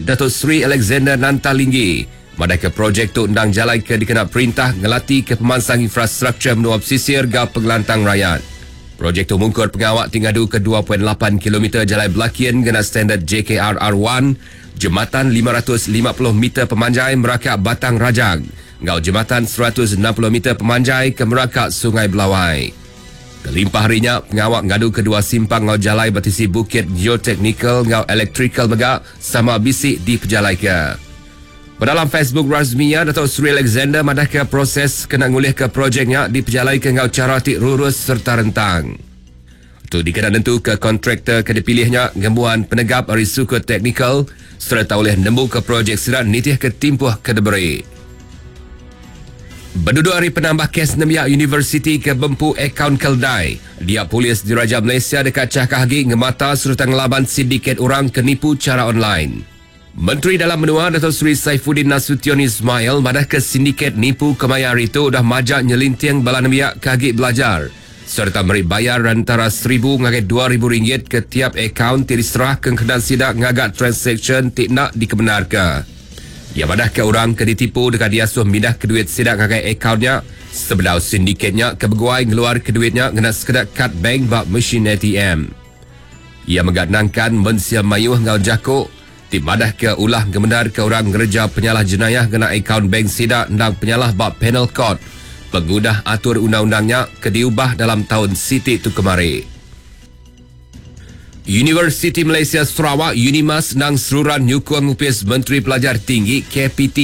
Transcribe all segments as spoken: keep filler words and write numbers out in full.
Dato Sri Alexander Nanta Linggi madah ke projek tu endang jalai ke dikena perintah ngelati ke pemansang infrastruktur menua pesisir gau pengelantang rakyat. Projek tu mungkur pengawak ti ngadu ke dua titik lapan kilometer jalai belakin gena standard J K R R satu, jematan lima ratus lima puluh meter pemanjai merakak Batang Rajang, ngau jematan seratus enam puluh meter pemanjai ke merakak Sungai Belawai. Kelimpah harinya, pengawak ngadu kedua simpang ngau jalai batisi Bukit Geotechnical ngau Electrical mega sama bisik di pejalai ke. Dalam Facebook rasminya, Dato' Sri Alexander madah ke proses kena ngulih ke projeknya di pejalai ke ngau cara ti rurus serta rentang. Tu dikena nentu ke kontraktor ke dipilihnya ngembuan penegap ari suku teknikal serta oleh nemu ke projek sirat nitih ke timpuh ke diberi. Berduduk hari penambah kes Nembiak Universiti ke Bempu Akaun Keldai. Dia polis Diraja Malaysia dekat Cakah Hagi ngemata serta ngelaban sindiket orang kenipu cara online. Menteri Dalam Menua Dato' Seri Saifuddin Nasution Ismail madah ke sindiket nipu kemayar itu dah majak nyelinting bala nembiak kagi belajar serta meri bayar antara seribu ngagai dua ribu ringgit ke tiap akaun ti diserah ke kena sidak ngagak transaction ti nak dikebenarkan. Ia madah ke orang ke ditipu dekat diasuh mindah ke duit sidak ngagai akaunnya sebelah sindiketnya ke beguai ngeluar ke duitnya ngena sekedar kad bank bak mesin A T M. Ia megat nangkan mensia mayuh ngau jako ti madah ke ulah gemendar ke orang ngereja penyalah jenayah kena akaun bank sidak ndang penyalah bak penal court. Pengudah atur undang-undangnya ke diubah dalam tahun Siti tu kemari. Universiti Malaysia Sarawak Unimas nang seruran nyukung upis Menteri Pelajar Tinggi K P T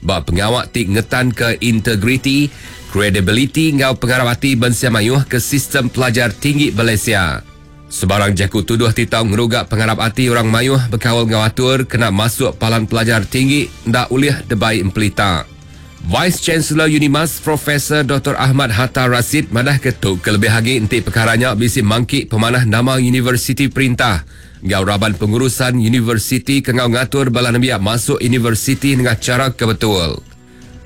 bak pengawak ti ngetan ke integriti, credibility ngau pengarap hati bensia mayuh ke sistem pelajar tinggi Malaysia. Sebarang jaku tuduh ti tau ngerugak pengarap hati orang mayuh berkawal ngau atur kena masuk palan pelajar tinggi ndak ulih debai empelita. Vice Chancellor Unimas Profesor Doktor Ahmad Hatta Rasid madah ketuk kelebih lagi enti perkaranya bisi mangki pemanah nama universiti perintah. Ngau raban pengurusan universiti ke ngau ngatur bala nembiak masuk universiti dengan cara kebetul.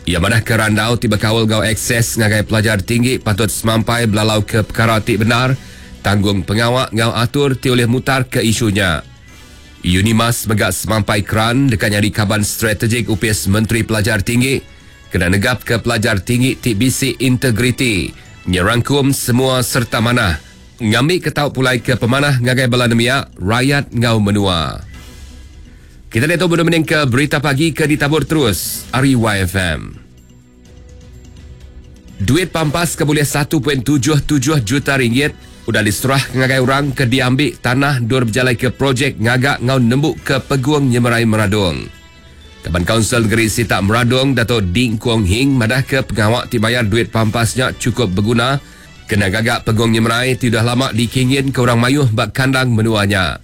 Ia madah ke randau ti berkawal ngau akses ngagai pelajar tinggi patut semampai belalau ke perkara ti benar, tanggung pengawak ngau atur ti oleh mutar ke isunya. Unimas megak semampai keran dekat nyari kaban strategik U P S Menteri Pelajar Tinggi kena negap ke pelajar tinggi ti bisi integriti, nyerangkum semua serta manah, ngambil ketau pulai ke pemanah ngagai bala nembiak, rakyat ngau menua. Kita lihat tu benda ke berita pagi ke ditabur terus Ari Y F M. Duit pampas ke boleh satu titik tujuh tujuh juta ringgit udah diserah ke ngagai orang ke diambil tanah dur berjalai ke projek ngagak ngau nembuk ke Peguang Nyemerai Meradong. Kaban Kaunsil Negeri Sitak Meradong Dato' Ding Kuong Hing madah ke pengawak ti bayar duit pampasnya cukup berguna kena gagak Peguang Nyemerai ti dah lama dikingin ke orang mayuh bak kandang menuanya.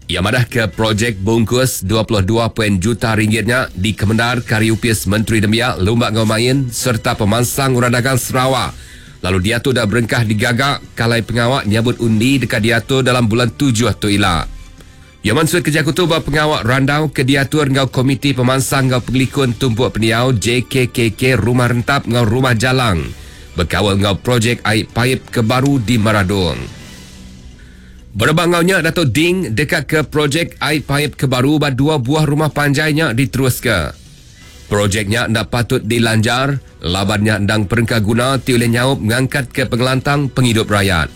Ia madah ke projek bungkus dua puluh dua poin juta ringgitnya di Kemendar Kariupis Menteri Nembiak Lumba Ngau Main serta pemansang orang dagang Sarawak. Lalu dia tu dah berengkah digagak kalai pengawak nyabut undi dekat diatur dalam bulan tujuh tu ila. Ia maksud kerja kutu buat pengawak randau ke diatur ngau Komiti Pemansang ngau Pengelikun Tumpuk Peniau J K K K Rumah Rentap ngau Rumah Jalang berkawal ngau projek air paip ke baru di Meradong. Berebak ngaunya Dato' Ding dekat ke projek air paip ke baru ba dua buah rumah panjainya diteruska. Projeknya ndak patut dilanjar, labannya ndang perengka guna ti oleh nyaup ngangkat ke pengelantang penghidup rakyat.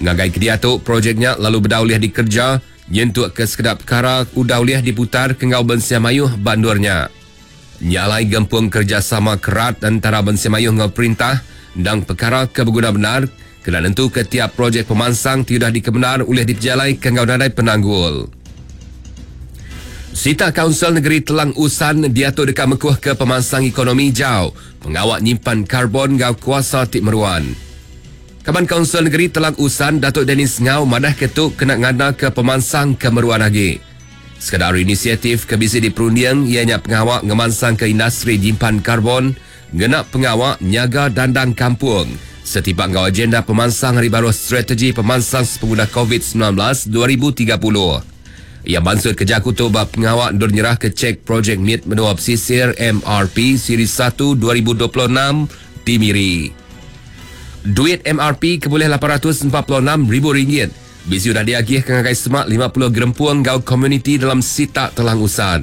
Ngagai ke dia tu projeknya lalu berdauliah dikerja nyentuk ke sekedap perkara udauliah diputar ke ngau bensia mayuh bandurnya. Nyalai gempung kerjasama kerat antara bensia mayuh ngau perintah ndang perkara ke berguna benar kena nentu ke tiap projek pemansang tidak dikebenar oleh dipejalai ke ngau nadai penanggul. Sita Kaunsil Negeri Telang Usan diatur dekat mekuh ke pemansang ekonomi jauh pengawak nyimpan karbon ngau kuasa tik meruan. Kaban Kaunsil Negeri Telang Usan Datuk Dennis Ngau madah ketuk kena ngada ke pemansang ke meruan lagi. Sekadar inisiatif ke bisi diperundiang ianya pengawak ngemansang ke industri nyimpan karbon, ngenak pengawak nyaga dandang kampung. Setipak ngau agenda pemansang hari baru strategi pemansang sepengguna COVID sembilan belas dua ribu tiga puluh. Ia maksud kerja kutu bab pengawak ndur nyerah ke cek projek M I T Menua Pesisir M R P Siri satu dua ribu dua puluh enam di Miri. Duit M R P ke boleh lapan ratus empat puluh enam ribu ringgit. Bisi sudah diagih ke ngagai semak lima puluh gerempuang gau komuniti dalam Sitak Telang Usan.